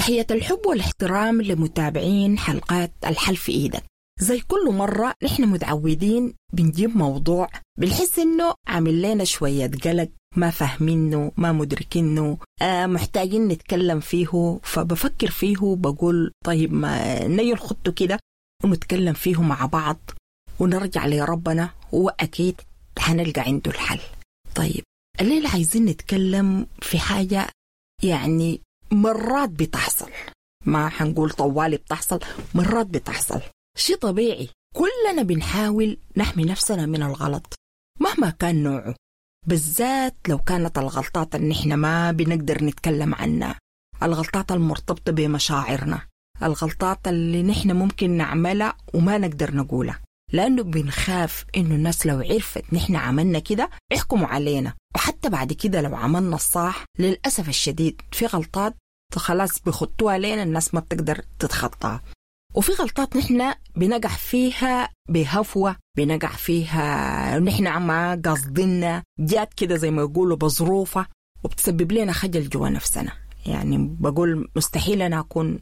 تحية الحب والاحترام لمتابعين حلقات الحل في إيدك. زي كل مرة نحن متعودين بنجيب موضوع بنحس إنه عامل لنا شوية قلق، ما فاهمينه، ما مدركينه، محتاجين نتكلم فيه. فبفكر فيه بقول طيب ما نيجي نخطه كده ونتكلم فيه مع بعض ونرجع لربنا، وأكيد حنلقى عنده الحل. طيب الليلة عايزين نتكلم في حاجة يعني مرات بتحصل، ما حنقول طوالي بتحصل، مرات بتحصل، شيء طبيعي. كلنا بنحاول نحمي نفسنا من الغلط مهما كان نوعه، بالذات لو كانت الغلطات اللي نحن ما بنقدر نتكلم عنها، الغلطات المرتبطة بمشاعرنا، الغلطات اللي نحن ممكن نعملها وما نقدر نقولها، لأنه بنخاف إنه الناس لو عرفت نحن عملنا كده يحكموا علينا. وحتى بعد كده لو عملنا الصح للأسف الشديد في غلطات خلاص بيخطوها لنا الناس ما بتقدر تتخطاها، وفي غلطات نحن بنقع فيها بهفوة، بنقع فيها نحن ما قصدنا، جات كده زي ما يقولوا بظروفها، وبتسبب لنا خجل جوا نفسنا. يعني بقول مستحيل أنا أكون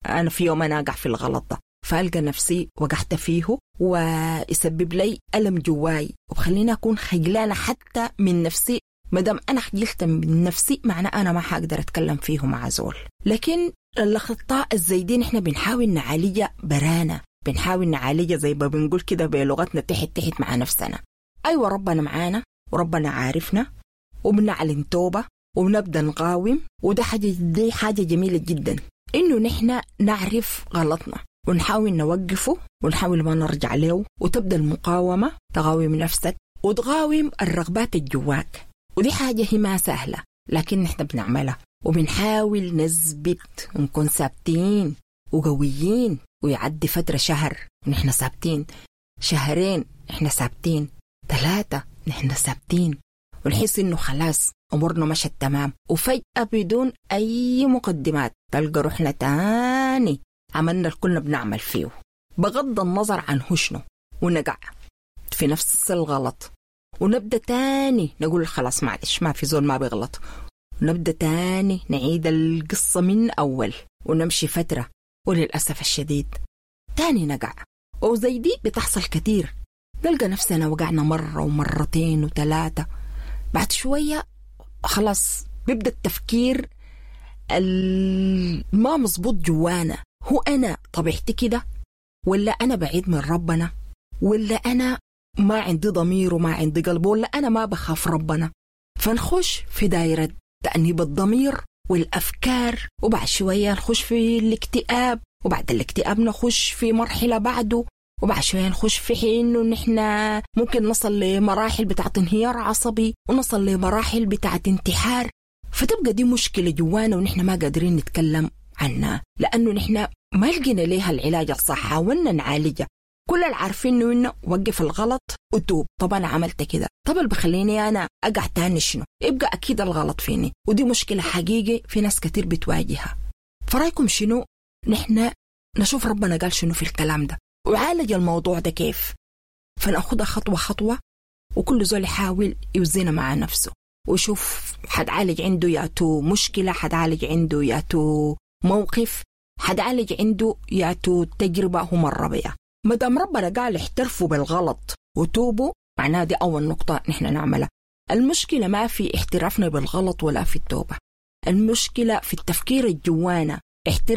أنا في يوم أنا أقع في الغلط ده، فألقى نفسي وقعت فيه ويسبب لي ألم جواي وبخليني أكون خجلانة حتى من نفسي. مدام أنا خجلت من نفسي معناه أنا ما حقدر أتكلم فيه مع زول. لكن الأخطاء الزايدين إحنا بنحاول نعالجها برانا، بنحاول نعالجها زي ما بنقول كده بلغتنا تحت تحت مع نفسنا. أيوة ربنا معانا وربنا عارفنا وبنعلن توبة وبنبدأ نقاوم، وده حاجة، دي حاجة جميلة جدا إنه نحن نعرف غلطنا ونحاول نوقفه ونحاول ما نرجع له، وتبدأ المقاومة، تقاوم نفسك وتقاوم الرغبات الجواك. ودي حاجة هي ما سهلة لكن نحن بنعملها وبنحاول نثبت ونكون ثابتين وقويين. ويعدي فترة شهر ونحن ثابتين، شهرين نحن ثابتين، 3 نحن ثابتين، ونحس إنه خلاص أمورنا مشت تمام. وفجأة بدون أي مقدمات تلقى روحنا تاني عملنا اللي كنا بنعمل فيه بغض النظر عن هو شنو، ونقع في نفس الغلط ونبدأ تاني نقول خلاص معلش ما في زول ما بيغلط، ونبدأ تاني نعيد القصة من أول ونمشي فترة، وللأسف الشديد تاني نقع. وزي دي بتحصل كتير، نلقى نفسنا وقعنا مرة ومرتين وثلاثة. بعد شوية خلاص بيبدأ التفكير ما مظبوط جوانا، هو أنا طبيعتي كده، ولا أنا بعيد من ربنا، ولا أنا ما عندي ضمير وما عندي قلب، ولا أنا ما بخاف ربنا. فنخش في دايرة تأنيب الضمير والأفكار، وبعد شوية نخش في الاكتئاب، وبعد الاكتئاب نخش في مرحلة بعده، وبعد شوية نخش في حين إنه نحن ممكن نصل لمراحل بتاعت انهيار عصبي، ونصل لمراحل بتاعت انتحار. فتبقى دي مشكلة جوانا ونحن ما قادرين نتكلم عنها، لأنه نحن ما لقينا ليها العلاج الصح، حاولنا نعالجها. كل اللي عارفينه إنه وقف الغلط وتوب. طب أنا عملت كده، طب اللي بخليني أنا أقع تاني شنو؟ يبقى أكيد الغلط فيني. ودي مشكلة حقيقي في ناس كتير بتواجهها. فرأيكم شنو؟ نحن نشوف ربنا قال شنو في الكلام ده وعالج الموضوع ده كيف، فنأخدها خطوة خطوة، وكل زول يحاول يوزنها مع نفسه ويشوف حتعالج عنده ياتو مشكلة، حتعالج عنده ياتو موقف، حتعالج عنده ياتو تجربة هو مر بها. مدام ربنا قال احترفوا بالغلط وتوبوا، معناها دي أول نقطة نحن نعملها. المشكلة ما في احترافنا بالغلط ولا في التوبة، المشكلة في التفكير الجوانا. احتراف